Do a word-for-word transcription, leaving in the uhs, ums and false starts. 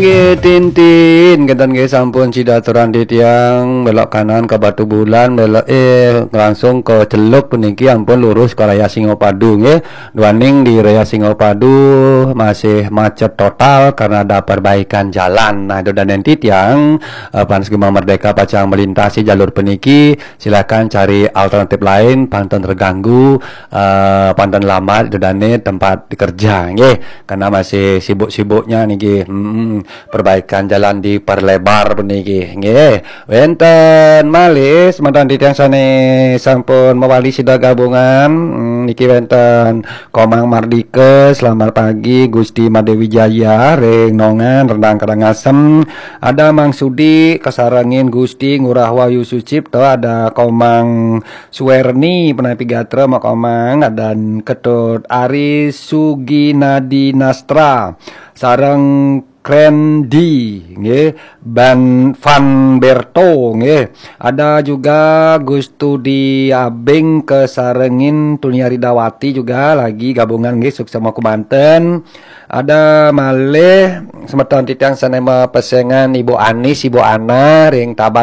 Nggih, Tintin, kenten nggih, sampun sida aturan titiang belok kanan ke Batubulan, belok, eh, langsung ke Celuk puniki, ampun lurus ke Raya Singapadu nggih. Duaning di Raya Singapadu masih macet total karena ada perbaikan jalan. Nah, ida dané titiang, eh, Fans Gema Merdeka pacang melintasi jalur puniki, silakan cari alternatif lain, pantun terganggu, eh, pantun lambat, ida dané tempat kerja nggih. Karena masih sibuk-sibuknya niki. Hmm, perbaikan jalan diperlebar puniki nggih. Wénten malih semeton titiang sané sampun mewali sida gabungan. Hmm, niki wénten Komang Mardika, selamat pagi Gusti Madé Wijaya ring Nongan, Rendang Karangasem. Ada Mang Sudi kasarengin Gusti Ngurah Wahyu Sucipto, ada Komang Suwerni, Penapi Gatra, Mak Komang, ada Ketut Ari Suginadi Nastra, sareng Krendi, nggih, Ban Van Berto, nggih. Ada juga Gustudi Abing kasarengin Tunia Ridawati juga lagi gabungan, nggih, sukses mau kemanten. Ada malih semeton titiang sané mapesengan Ibu Anis, Ibu Ana ring Tabanan.